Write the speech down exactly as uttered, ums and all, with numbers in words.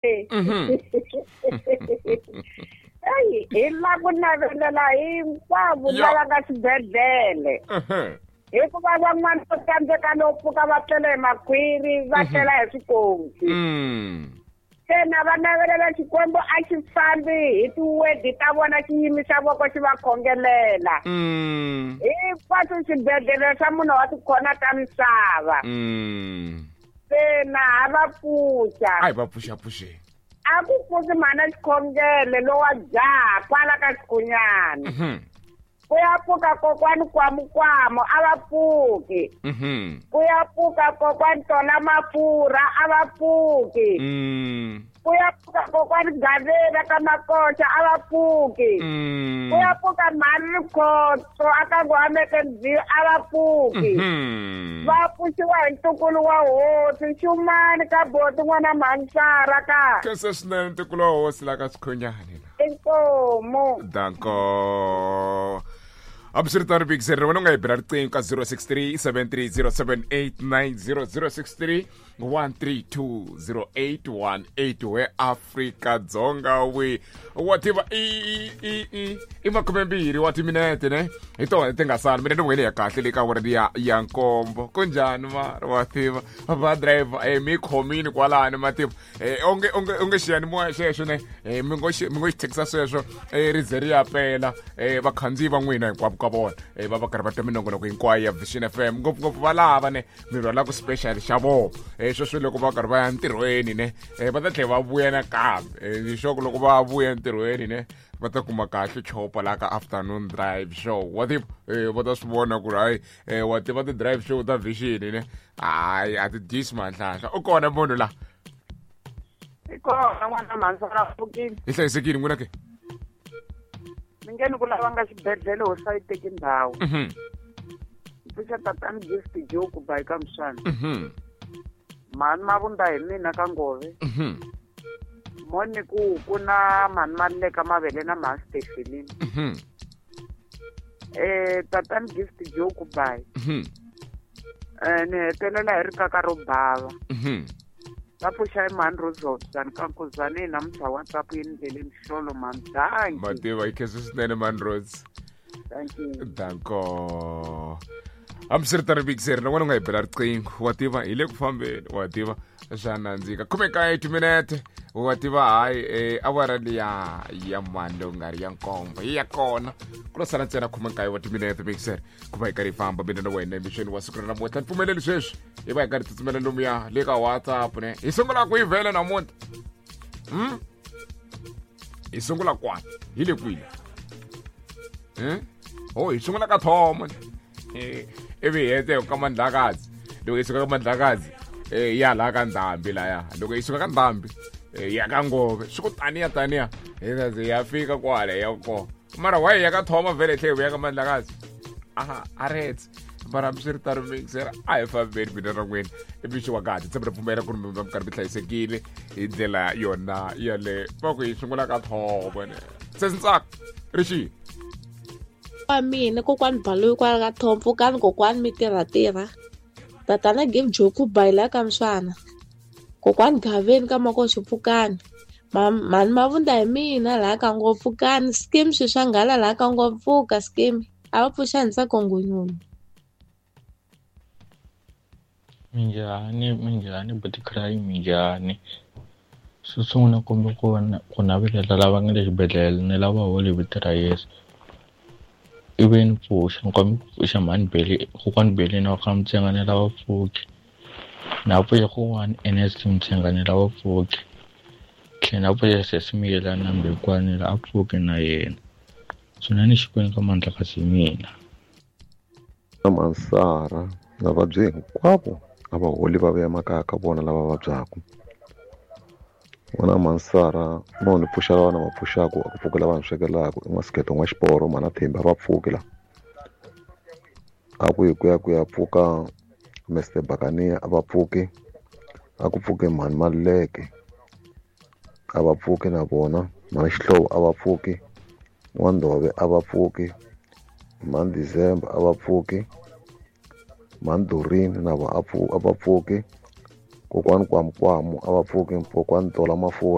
Mhm. Eyi hi la ku navelela hinkwavo Ya. lava nga xibedhlele. Mhm. Hikuva van'wana va tsandzeka no pfuka va tlela hi makhwiri va tlela hi swikosi. Mm. Se na va navelela Xikwembu a xi fambi hi tiwedi ta vona xi yimisa voko xi va khongelela. Mm. Hinkwaswo swibedhlele swa munhu wa tikhona ta misava. Mm. Se na ha va pfuxa. A hi va pfuxapfuxeni. A ku pfuki mhana xikhongele lowa jaha kwala ka xikhunyana. Mhm. Ku ya pfuka kokwani Kwamukwamo a va pfuki. Mhm. Ku ya pfuka kokwani Tola Mafurha a va pfuki. Mm. Ku ya pfuka kokwani Gavela ka Makoxa a va pfuki. Mm. Ku ya pfuka mhani Rikhotso a ka Ngwameke a va pfuki. Mhm. Va pfuxiwa hi ntukulu wa hosi Xumani ka Boti n'wana Mhansara ka. Khensa swinene ntukulu wa hosi la ka Xikhunyani la. Inkomu. Danko. Hambiswiritano Big Zero wena u nga hi bela riqingho ka zero six three seven three zero seven eight nine zero zero six three one three two zero eight one eight we Afrika Dzonga wi wa tiva i i i i makumembirhi wa timinete ne hi tona ti nga sala mina ni wena ya kahle le ka awara liya ya nkombo kunjhani mara wa tiva va driver eh mi khomini kwalani ma tiva eh onge onge onge xiyanimoya xexo ne eh mi ngo xi mi ngo xi thekisa sweswo eh ri ze ri ya pela eh vakhandziyi va n'wina hinkwavo ka vona eh va va karhi va twa minongonoko hinkwayo ya Vision F M ngopfungopfu va lava ne mi rhwalaka special xa vona eh sweswo loko va karhi va ya ntirhweni ne eh va ta tlhela va vuya nakambe eh ni sure ku loko va vuya entirhweni ne va ta kuma kahle chopa la ka afternoon drive show wa tiva eh va ta swi vona ku ri hayi eh wa tiva ti-drive show ta Vision ne hayi a ti dyisi manhlahla u kona munhu la I kona n'wana Mhansara pfukile. Hi hlayisekile n'wina ke? Mi nge ni ku lava nga xibedhlele hosi a yi teki ndhawu. Mhm. Pfuxa tatani Gift Joe ku ba eka Mswana. Mhm. Mhani Mavunda hi mina ka Ngove. Mhm. Moni ku ku na mhani Maluleka Mavele na mhani Stephanie. Mhm. Eh tatani Gift Joe ku ba. Mhm. Eh ni hetelela hi rikaka ro bava. Mhm. Va pfuxa hi mhani Rose ka Nkuzani namuntlha WhatsApp yi ndlele mihlolo mhani. Danki. Mativa yi khensa swinene mhani Rose. Thank you. Danko. Hambiswiritano Big Zero na wena u nga hi bela riqingho wa tiva hi le ku fambeni wa tiva swa nandzika khume nkaye timinete wa tiva hayi eh, awara liya ya mani lowu nga ri ya nkombo yi ya kona ku lo sala ntsena khume nkaye wa timinete Big Zero ku va hi karhi hi famba mina na wena emixweni wa siku ra namuntlha ni pfumeleli sweswi hi va hi karhi tsutsumela lomuya le ka WhatsApp ne hi sungula ku yi vhela namuntlha hmm? Hi sungula kwani hi le kwini hmm? Oh hi sungula ka thomo eh ivi hi hete ka Mandlakazi loko hi suka ka Mandlakazi eh ya laha ka Ndhambi laya loko hi suka ka Ndhambi eh ya ka Ngove swi ku taniya taniya hi ta ze ya fika kwale ya kona mara why ya ka Thoma vhele tlhe hi vuya ka Mandlakazi aha a retse mara hambiswiritano mixer a hi fambeni mina na n'wina i mixo wa kahle tshemba ri pfumela ku ri mi va mi karhi mi hlayisekile hi ndlela yona yale va ku hi sungula ka Thoma ne se Ntsako ri xihi Wa mina kokwani Baloyi kwala ka Thoma pfukani kokwani mi tirha tirha tatana Give Joe ku ba hi la ka Mswana kokwani Gaveni ka Makoxi pfukani mhani Mavunda hi mina laha ka Ngopfu pfukani scheme swi swa nghala laha ka Ngopfu pfuka scheme a va pfuxa Ntsako Ngonyoni. Minjhani minjhani buti Cry minjhani xo sungula kumbe ku ku navelela lava nga le xibedhlele ni lava holi vito ra Yesu ivi ni pfuxa ni kombela ku pfuxa mhani Beli kokwani Beli na ka Mtsenga ni lava pfuki na pfuxa kokwani Ernest Mtsenga ni lava pfuki tlhela na pfuxa sesi Miyela na Mbekwani la a pfuki na yena swinene Xikwembu ka Mandlakazi mina. Na Mansara vavabyi hinkwavo a va holi va vuya makaya ka vona lava vabyaka n'wana Mansara no ni pfuxa lava na va pfuxaku a ku pfuki lava ni swekelaka i n'wasikete n'wa xiporo mhana Thembi a va pfuki la a ku hi ku ya ku ya pfuka Mister Bakania a va pfuki a ku pfuki mhani Maluleke a va pfuki na vona mhani Xihlovo a va pfuki N'wandove a va pfuki mhani December a va pfuki mhani Doreen na vo a va pfuki Kokwani Kwamukwamu a va pfuki, kokwani Tola Mafurha.